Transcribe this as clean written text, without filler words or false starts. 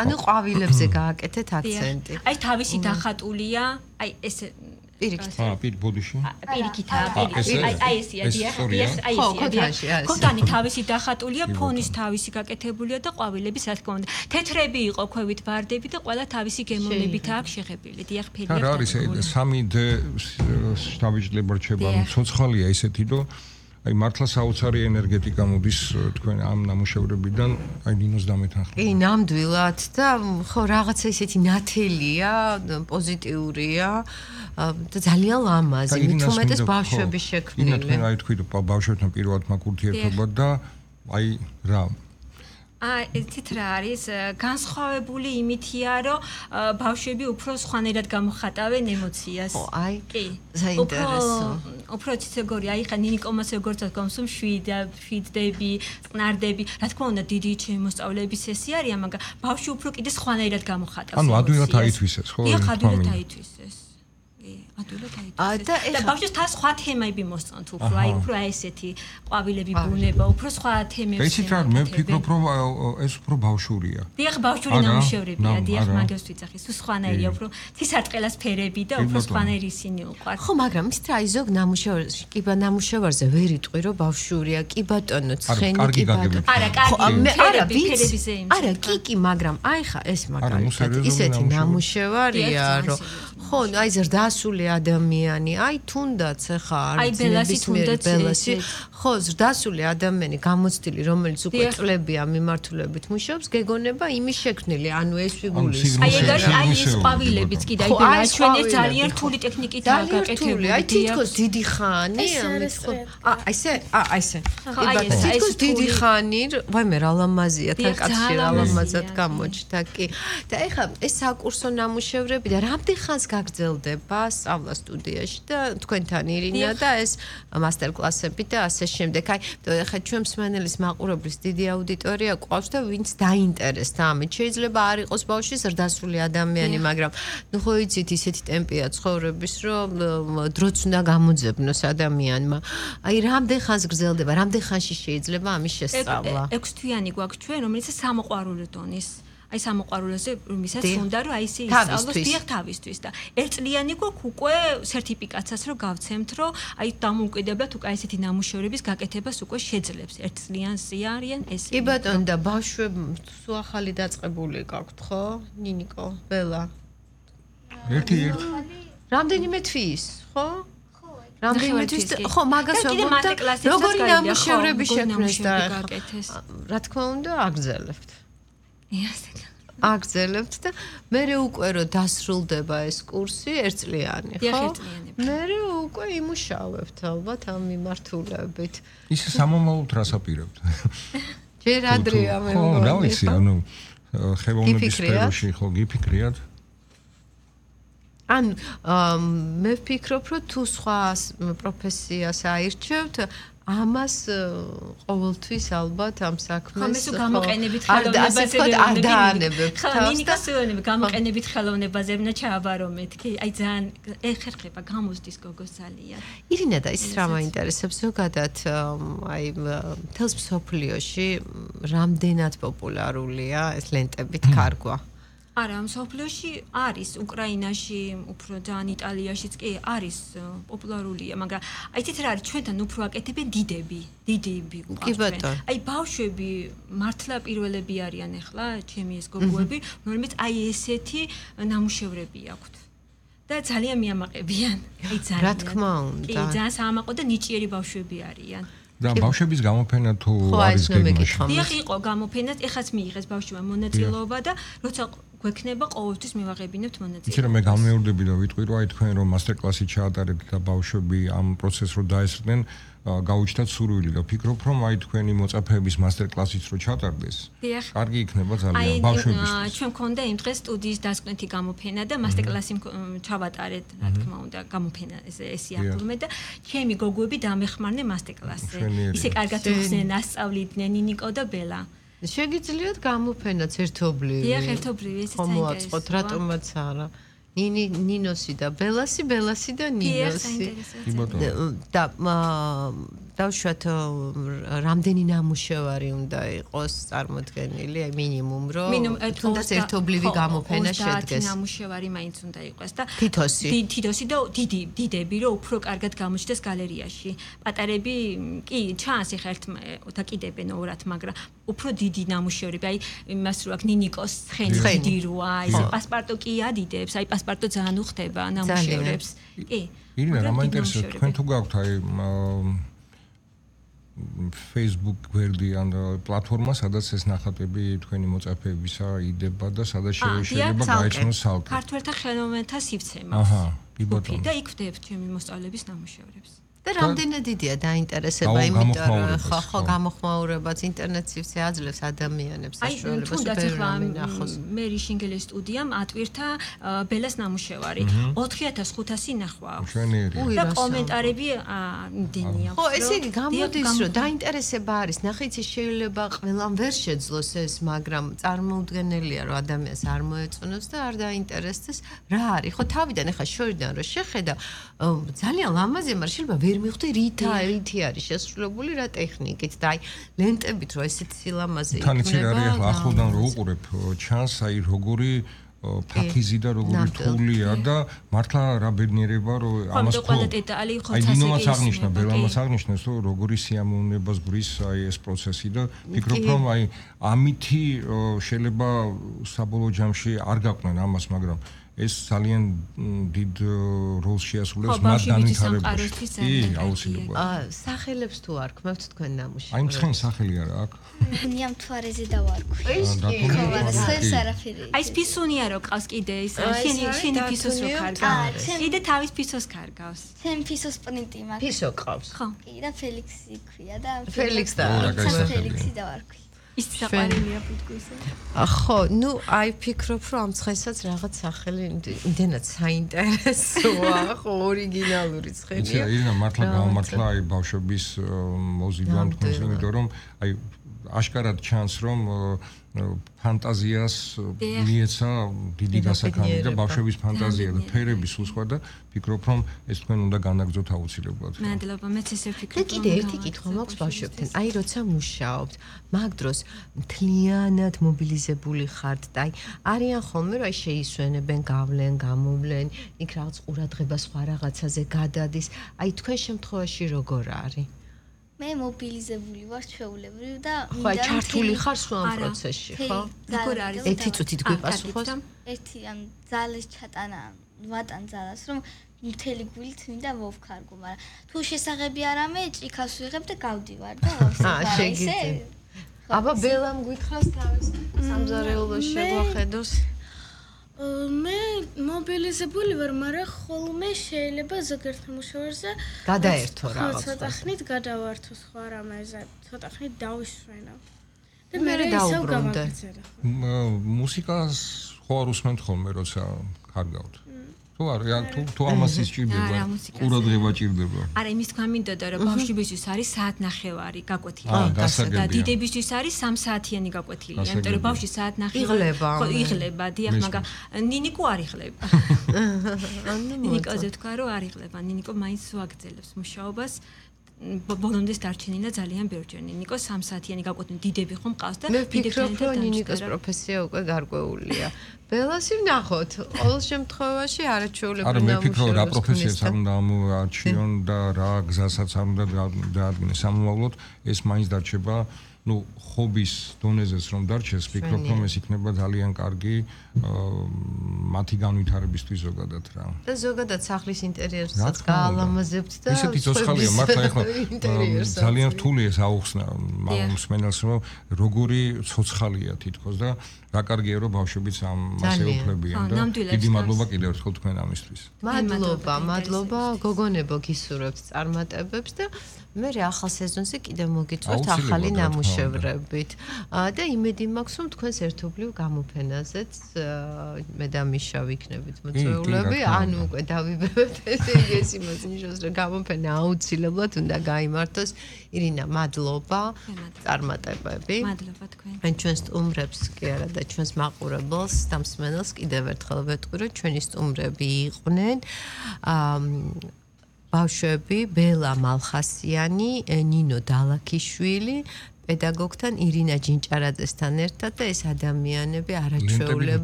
ანუ ყვავილებზე გააკეთეთ აქცენტი. აი თავისი დახატულია, აი ეს პირიქით. ბოდიში. პირიქით, აი ესია, აი ესია. ქოთანი თავისი დახატულია, ფონის თავისი გაკეთებულია და ყვავილების რა თქმა უნდა. თეთრები იყო ქვევით ბარდები და ყველა თავისი გემოვნებით აქვს შეღებილი. დიახ, ფერია. რა არის 3D შტაბიჭლება რჩება, ცოცხალია ისეთი, რომ აი მართლა საოცარი ენერგეტიკა მოდის თქვენ ამ ნამუშევრებიდან, აი ნინოს დამეთანხმება. კი, ნამდვილად და ხო რაღაცა ისეთი ნათელია, პოზიტიურია და ძალიან ლამაზი, მithumetes ბავშვების შექმნილი. ინა თქვენ აი თქვით ბავშვებთან პირველად მაქვს ურთიერთობა და აი რა ესეთ რა არის განსხვავებული იმითია, რომ ბავშვები უფრო სხვანაირად გამოხატავენ ემოციას. ხო, აი. კი. საინტერესო. უფრო ციცეგორი, აი ხა ნინიკომას როგორც გქონს შვიდდები, წნარდები, რა თქმა უნდა დიდი შემოსწავლების სესია არიან, მაგრამ ბავშვი უფრო კიდე სხვანაირად გამოხატავს. ანუ ადვილად აითვისეს, ხო? დიახ, ადვილად აითვისეს. ადვილად აითვისეს. და ბავშვს თან სხვა თემები მოსწონთ უფრო, აი უფრო ესეთი ყვავილები ბუნება, უფრო სხვა თემებს. ესეთ რა მე ვფიქრობ, რომ ეს უფრო ბავშვურია. დიახ, ბავშვური ნამუშევრებია, დიახ, მაგას ვიძახი, სულ სხვანაირია, უფრო თისარტყელას ფერები და უფრო სხვანაირი ისინი უყვართ. ხო, მაგრამ ის რა ზოგ ნამუშევრში, კიბა ნამუშევარზე ვერ იტყვი, რომ ბავშვურია, კი ბატონო, ცხენი კი ბატონო. არა, კარგი, ფერებიზე იმის. არა, კი, მაგრამ აი ხა ეს მაგალითად ისეთი ნამუშევარია, რომ ხო, აი ზრდასული ადამიანი, აი თუნდაც ხა არის ბელასი, ხო, ზრდასული ადამიანი გამოცდილი, რომელიც უკვე წლებია მიმართულებით მუშაობს, გეგონება იმის შექმნილი, ანუ ეს ფიგურის. აი ეს ყვავილებიც კიდე აი ჩვენ ეს ძალიან რთული ტექნიკით გაკეთებული. აი თითქოს დიდი ხანი, ამით ხო. აი ესე. თითქოს დიდი ხანი, ვაიმე რა ლამაზია, თან კაცი რა ლამაზად გამოჩნდა, კი. და ეხლა ეს საკურსო ნამუშევრები და რამდენ ხანს გაგრძელდება სწავლა სტუდიაში და თქვენთან ირინა და ეს მასტერკლასები და ასე შემდეგ. აი, ეხლა ჩვენ მსმენელის მაყურებლის დიდი აუდიტორია ყავს და ვინც დაინტერესდა ამით. შეიძლება არ იყოს ბავშვი ზრდასრული ადამიანი, მაგრამ ნუ ხო იცით ისეთი ტემპია ცხოვრების, რომ დროც უნდა გამოძებნოს ადამიანმა. აი, რამდენ ხანს გრძელდება, რამდენ ხანში შეიძლება ამის შესწავლა? 6 თვიანი გვაქვს ჩვენ, რომელიც სამოყვარულო დონის. აი სამოყვარულოზე რომელსაც უნდა რომ აი ისე ისწავლოს დიახ თავისთვის და ერთწლიანი გვაქვს უკვე სერტიფიკატსაც რომ გავცემთ რომ აი დამოუკიდებლად უკვე ესეთი ნამუშევრების გაკეთებას უკვე შეძლებს ერთწლიანსი არიან ეს კი ბატონო და ბავშვებს სულ ახალი დაწყებული გაქვთ ხო ნინიკო ბელა ერთი რამდენიმე თვის ხო რამდენიმე თვის ხო მაგას ვუყურებთ როგორი ნამუშევრები შექმნეს და რა თქმა უნდა აგრძელებთ აგრძელებთ და მე უკვე რომ დასრულდება ეს კურსი ერთწლიანი ხო? მე უკვე იმუშავებთ ალბათ ამ მიმართულებით. ისე სამომავლოდ რას აპირებთ? ჯერ ადრეა მე მგონი. ხო, რა ვიცი, ანუ ხელოვნების სფეროში ხო გიფიქრიათ? ან მე ვფიქრობ რომ თუ სხვა პროფესიას აირჩევთ ამას ყოველთვის ალბათ ამ საქმეს ხო გამოყენებით ხელოვნებაზე არ დაანებებთ ნინიკასეონები გამოყენებით ხელოვნებაზე უნდა ჩააბარო მეთქი აი ძალიან ეხერხება გამოსდის გოგოს ძალიან ირინა და ის რა მაინტერესებს ზოგადად აი თელს მსოფლიოში რამდენად პოპულარულია ეს ლენტებით კარგვა არა, მსოფლიოში არის, უკრაინაში, უფრო ძალიან იტალიაშიც კი არის პოპულარულია, მაგრამ აი თით რა არის, ჩვენთან უფრო აკეთებენ დიდები უყავს. აი ბავშვები მართლა პირველები არიან ახლა, ჩემი ეს გოგოები, რომელმიც აი ესეთი ნამუშევრები აქვთ. და ძალიან მიამაყებიან. აი ძალიან. რა თქმა უნდა. კი, ძალიან საამაყო და ნიჭიერი ბავშვები არიან. და ბავშვების გამოფენა თუ არის გეგმაში. დიახ, იყო გამოფენა, ეხაც მიიღეს ბავშვმა მონაწილეობა და როცა გვექნება ყოველთვის მივაღებინებთ მონაწილეობას. იცი რომ მე გამეორდები და ვიტყვი რომ აი თქვენ რომ მასტერკლასი ჩაატარეთ და ბავშვები ამ პროცესს რო დაესწრნენ, გაუჩნდათ სურვილი და ვფიქრობ რომ აი თქვენი მოწაფეების მასტერკლასიც რო ჩატარდეს. კარგი იქნება ძალიან ბავშვებისთვის. ჩვენ მქონდა იმ დღეს სტუდიის დასკვნითი გამოფენა და მასტერკლასი ჩავატარეთ, რა თქმა უნდა, გამოფენა ესე აფორმე და ჩემი გოგოები დამეხმარნენ მასტერკლასზე. ისე კარგად ხსნენ, ასწავლიდნენ ნინიკო და ბელა. შეგიძლიათ გამოფენაც ერთობლივი. დიახ, ერთობლივი, ესეც საინტერესოა. მოაწყოთ, რატომაც არა. ნინოსი და ბელასი და ნინოსი. და დავშვათ რამდენი ნამუშევარი უნდა იყოს წარმოდგენილი, აი მინიმუმ რომ თუნდაც ერთობლივი გამოფენა შედგეს. 30 ნამუშევარი მაინც უნდა იყოს და თითოსი და დიდები რომ უფრო კარგად გამოჩნდეს გალერეაში. პატარები კი ჩანს ეხა ერთ დაკიდებენ ორად, მაგრამ უფრო დიდი ნამუშევრები, აი იმას რო აქ ნინიკოს ცხენი დიდი როა, ეს პასპარტო კი ადიდებს, აი პასპარტო ძალიან უხდება ნამუშევრებს. კი. ირინა, რა მაინტერესებს თქვენ თუ გაქვთ აი Facebook გვერდი ან პლატფორმა, სადაც ეს ნახატები თქვენი მოწაფეებისა იდება და სადაც შეიძლება გაეცნოს სალკე. ქართველთა ხელოვნებათა სივრცემა. აჰა, კი ბატონო. და იქ ვდებთ ჩემი მოსწავლების ნამუშევრებს. და რამდენად დიდია დაინტერესება, იმიტომ რომ ხო გამოხმაურებაც ინტერნეტ სივრცე აძლევს ადამიანებს საშუალებას ბევრი ნახოს. მერი შინგელის სტუდიამ ატვირთა ბელას ნამუშევარი 4500 ნახვა აქვს. და კომენტარები იმდენია. ხო, ესე იგი გამოდის რომ დაინტერესება არის, ნახეთ შეიძლება ყველამ ვერ შეძლოს ეს, მაგრამ წარმოუდგენელია რომ ადამიანს არ მოეწონოს და არ დაინტერესდეს რა არის. ხო, თავიდან ეხა შორიდან რომ შეხედა ძალიან ლამაზია, მაგრამ შეიძლება ვერ მივხვდი რითი არის შესრულებული რა ტექნიკით და აი ლენტებით რომ ესეთი სილამაზე იქნება. თან იცი რა არის ახლა ახლოდან რო უყურებ ჩანს აი როგორი ფაქიზი და როგორი თულია და მართლა რა ბედნიერება რომ ამას ხო აი დინომაც აღნიშნა, ბელამაც აღნიშნეს რომ როგორი სიამოვნებას გვრის აი ეს პროცესი და ფიქრობ რომ აი ამითი შეიძლება საბოლოო ჯამში არ გაყვნენ ამას, მაგრამ ეს ძალიან დიდ როლს შეასრულებს მათ განვითარებაში. კი, აუცილებლად. სახელებს თუ არ ქმევთ თქვენ ნამუშევრებს? აი მცხენი სახელი არა აქ. ნიამ თვარეზე დავარქვი. აი სპისუნია რო ყავს კიდე ის შენი ფისოს რო კარგავს. კიდე თავის ფისოს კარგავს. ჩემ ფისოს პრინტი მაქვს. ფისო ყავს. ხო. კი და ფელიქსი ქვია და ფელიქსი და ფელიქსი დავარქვი. ის საყვარელია ფუტკუსა. ხო, ნუ აი ფიქრობ რომ ამ ცხენსაც რაღაც სახელი იმდენად საინტერესოა, ხო, ორიგინალური ცხენია. იცი, ირინა, მართლა გამართლა აი ბავშვების მოზიდვა თქვენს, იმიტომ რომ აი აშკარად ჩანს რომ ფანტაზიას მიეცა დიდი გასაქანი და ბავშვების ფანტაზია და ფერები სულ სხვა და ფიქრობ რომ ეს თქვენ უნდა განაგრძოთ აუცილებლად. მადლობა, მეც ესე ვფიქრობ. და კიდე ერთი კითხვა მაქვს ბავშვებთან. აი როცა მუშაობთ, მაგ დროს მთლიანად მობილიზებული ხართ და აი არიან ხოლმე რომ აი შეისვენებენ, გავლენ, გამოვლენ, იქ რაღაც ყურადღება სხვა რაღაცაზე გადადის. აი თქვენ შემთხვევაში როგორ არის? მე მობილიზებული ვარ ჩვეულებრივ და ხო, ჩართული ხარ სულ ამ პროცესში, ხო? როგორ არის? ერთი წუთით გვიპასუხოს? ერთი ამ ძალის ჩატანა, ვატან ძალას, რომ მთელი გულით მინდა მოვქარგო, მაგრამ თუ შესაღები არ ამე, ჭიქას ვიღებ და გავდივარ და შეგიძლია. აბა ბელამ გითხრას თავის სამზარეულოს შეგვახედოს. მე მობილიზებული ვარ, მაგრამ ხოლმე შეიძლება ზოგიერთ ნამუშევრზე გადაერთო რაღაცა. ცოტა ხნით გადავართო სხვა რამეზე, ცოტა ხნით დავისვენო. და მე დაუბრუნდე. მუსიკას ხო არ უსმენთ ხოლმე, როცა კარგავთ. თუ არა, თუ ამას ისჭირდება, ყურადღება ჭირდება. არა, იმის თქვა მინდოდა, რომ ბავშვებისთვის არის საათნახევარი გაკვეთილი. და დიდებისთვის არის 3 საათიანი გაკვეთილი. იმიტომ რომ ბავშვი საათნახევარი იღლება, დიახ, მაგრამ ნინიკო არ იღლება. ნინიკოზე თქვა, რომ არ იღლება. ნინიკო მაინც უაგრძელებს მუშაობას. ბოლომდე დარჩენილა ძალიან ბევრჯერ. ნინიკო 3 საათიანი გაკვეთილი დიდები ხომ ყავს და დიდებთან და ნინიკოს პროფესია უკვე გარკვეულია. ბელასი ვნახოთ. ყოველ შემთხვევაში არაჩვეულებრივი ნამუშევრები. არა, მე ფიქრობ რა პროფესიას არ უნდა ამოარჩიონ და რა გზასაც არ უნდა დაადგინეს. სამომავლოდ ეს მაინც დარჩება ну ხობის დონეზეც რომ დარჩეს, ფიქრობ რომ ეს იქნება ძალიან კარგი მათი განვითარებისთვის ზოგადად რა. და ზოგადად სახლის ინტერიერსაც გაალამაზებთ და ისეთი ძოცხალია მართლა ახლა ძალიან რთული ეს აუხსნა მსმენელს რომ როგორი ცოცხალია თითქოს და რა კარგია რომ ბავშვებიც ამაზე უფლებიან და დიდი მადლობა კიდევ ერთხელ თქვენ ამისთვის. მადლობა გოგონებო გისურვებთ წარმატებებს და მე ახალ სეზონზე კიდევ მოგიწევთ ახალი ნამუშევრებით და იმედი მაქვს რომ თქვენს ერთობლივ გამოფენაზეც მე და მიშა ვიქნებით მოწვეულები, ანუ უკვე დავიბებებთ ეს იმას ნიშნავს რომ გამოფენა აუცილებლად უნდა გაიმართოს. ირინა, მადლობა, წარმატებები. მადლობა თქვენ. ან ჩვენ სტუმრებს კი არა და ჩვენს მაყურებელს და მსმენელს კიდევ ერთხელ ვეტყვი რომ ჩვენი სტუმრები იყვნენ ბავშვები ბელა მალხასიანი, ნინო დალაქიშვილი პედაგოგთან ირინა ჯინჭარაძესთან ერთად და ეს ადამიანები არაჩვეულებრივ